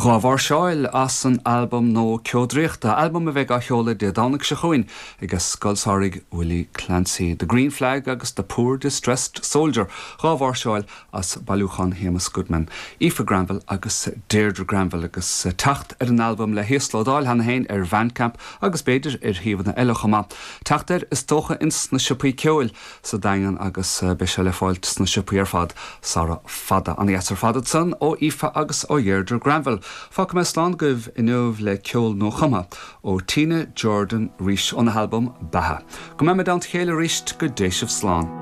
Mháirseáil as an albam nua Ceo Draíochta, albam a bheidh á sheoladh Dé Domhnaigh seo chugainn ag Scoil Samhraidh Willie Clancy. The Green Flag agus The Poor Distressed Soldier, 2 mháirseáil as bailiúchán Shéamus Goodman, Aoife Granville agus Deirdre Granville agus teacht ar an albam le híoslódáil cheana féin ar Bhandcamp agus b'fhéidir ar shuíomhanna eile chomh maith. Teacht air is dócha ins na siopaí ceoil sa Daingean agus beidh sé le fáilt sna siopaí ar fad sara fada. Ana dheas ar fad ansan ó Aoife agus ó Dheirdre Granville. Fágfaidh mé slán agaibh inniu le ceol nuachumtha ó Tina Jordan 'rís óna halbam Beatha. Go mbeimid i dteannta a chéile arís go dté sibh slán.